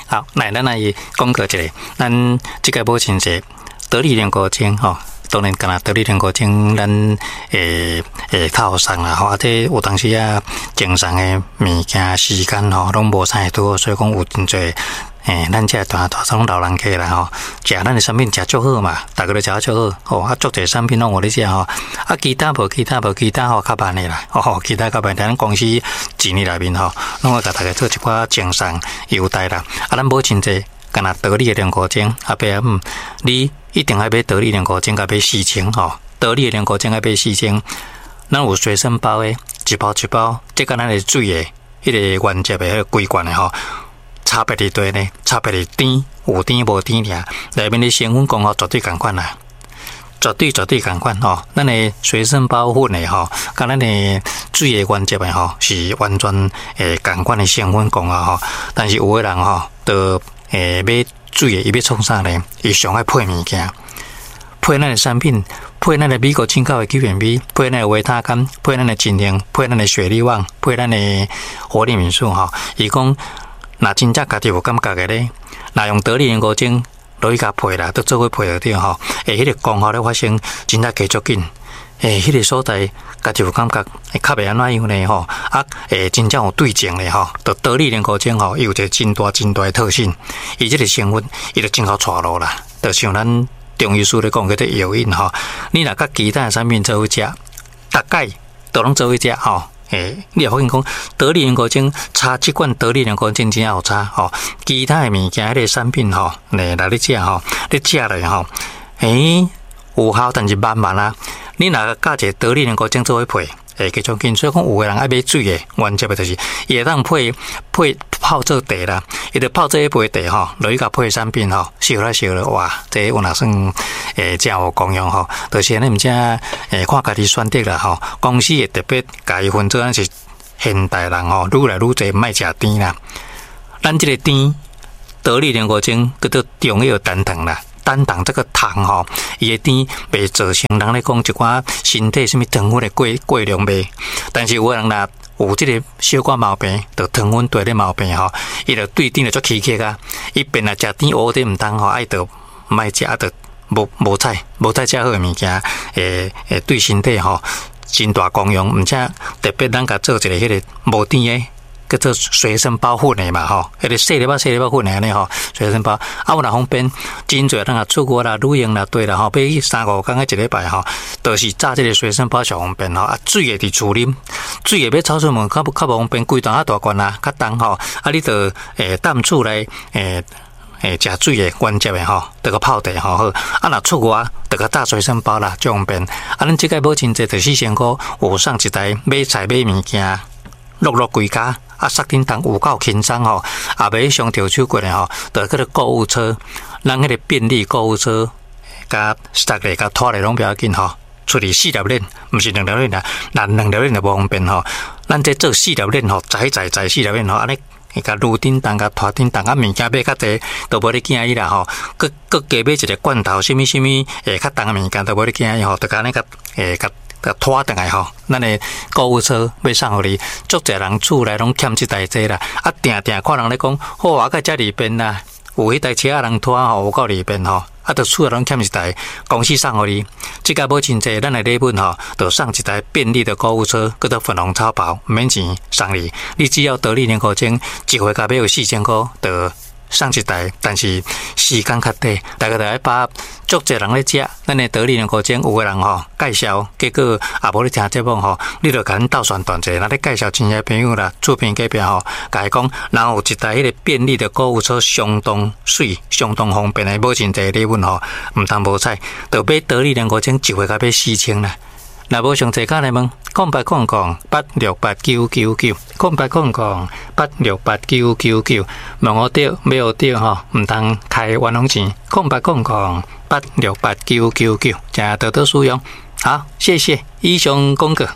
好，來，咱來廣告一下，咱這個母親節得力練歌精吼。當然，敢若得力練歌精，咱會會透送啦吼。啊，這有當時啊，正常的物件時間吼，攏無啥會拄好，所以講有真濟咱這大大種老人家啦吼，食咱的產品食足好嘛，逐家都食足好，吼啊，足濟產品攏有咧食吼。啊，其他無其他無其他吼，較慢的啦，哦，其他較慢。咱公司一年內面吼，攏會共大家做一寡贈送優待啦。啊，咱母親節，敢若得力的練歌精，阿伯阿姆，你一定愛買得力練歌精，共買四千吼，得力的練歌精愛買四千。咱有隨身包的，一包一包，這佮咱的水的，彼個原汁的彼個規罐的吼，差別佇佗呢？差別佇甜，有甜無甜爾，內面的成分功效絕對仝款啦，絕對絕對仝款吼。咱的隨身包粉的吼，佮咱的水的原汁的吼，是完全仝款的成分功效吼。但是有的人吼，就買水的，伊欲創啥呢？伊上愛配物件，配咱的產品，配咱的美國進口的 Q&B，配咱的維他乾，配咱的精靈，配咱的雪利旺，配咱的活力敏素吼。伊講，若真正家己有感覺的咧，若用得力練歌精落去共配啦，都做伙配就對吼。彼個功效咧發生，真正加足緊。彼個所在家己有感覺，會較袂按怎樣呢吼？啊，真正有對症咧吼，就得力練歌精吼，伊有一個真大真大的特性，伊這個成分，伊就真𠢕帶路啦。就像咱中醫師咧講叫做藥引吼，你若佮其他的產品做伙食，逐擺都攏做伙食吼。你會發現講得力練歌精，差這罐得力練歌精真正有差吼。其他的物件，彼個產品吼，來來咧食吼，你食落吼，有效，但是慢慢啊。你若佮一個得力練歌精做伙配，會加足緊。所以講，有的人愛買水的，原則的就是伊會當配配泡做茶啦，伊就泡做彼杯茶吼，落去共配產品吼，燒來燒落，哇，這有若算誠有功用吼。就是按呢，毋知看家己選擇啦吼。公司會特別共伊分做，咱是現代人吼，愈來愈濟毋愛食甜啦。咱這個甜得力練歌精叫做中藥單糖啦。單糖這個糖吼，伊的甜袂造成人咧講一寡身體啥物糖分的過過量袂。但是有的人若有這個小可毛病，就糖分多的毛病吼，伊就對甜就足起激啊。伊變來食甜烏的毋通吼，愛就毋愛食，啊，就無無彩無彩遮好的物件，會會對身體吼真大功用。毋且特別咱共做一個彼個無甜的，叫做隨身包粉的嘛吼，彼個細粒仔細粒仔粉的按呢吼，隨身包啊有若方便，真濟人若出國啦、旅行啦，對啦吼，欲去三五工仔一禮拜吼，就是紮這個隨身包上方便吼。啊，水的佇厝啉，水的欲走出門較較無方便，規袋較大罐啊，較重吼，啊，你就踮厝內食水的原汁的吼，就閣泡茶吼好。啊，若出外就閣紮隨身包啦，足方便。啊，咱這擺母親節就四千箍，有送一台買菜買物件，落落規家。啊，雪頂重有夠輕鬆吼，也袂傷著手骨的吼，就叫做購物車，咱彼個便利購物車，共塞咧、共拖咧攏不要緊吼。出去四粒鏈，毋是兩粒鏈啦，若兩粒鏈就無方便吼。咱這做四粒鏈吼，載載載四粒鏈吼，按呢共攄頂重，共拖頂重，啊物件買較濟，都無咧驚伊啦吼。閣閣加買一個罐頭，啥物啥物較重的物件都無咧驚伊吼，就按呢共共。共拖轉來吼，咱的購物車欲送予你，足濟人厝內攏欠這台這啦。啊，定定看人咧講，好啊，閣遮利便啦，有彼台車仔人拖吼，有夠利便吼。啊，就厝內攏欠一台，公司送予你。這個母親節，咱的禮物吼，就送一台便利的購物車，叫做粉紅超跑，毋免錢送你。你只要得力練歌精，一回共買有四千箍，就送一台，但是時間較短，大家就愛把握。足濟人咧食，咱的得力練歌精有的人吼介紹，結果也無咧聽節目吼，你就共阮鬥宣傳者，若咧介紹親戚朋友啦，厝邊隔壁吼，共伊講，人有一台彼個便利的購物車，相當媠，相當方便的母親節禮物吼，毋通無彩，就買得力練歌精一回共買四千啦。若無上濟卡來問，0800868999，0800868999，問予著，買予著吼，毋通開冤枉錢，0800868999，請多多使用。好，謝謝，以上廣告。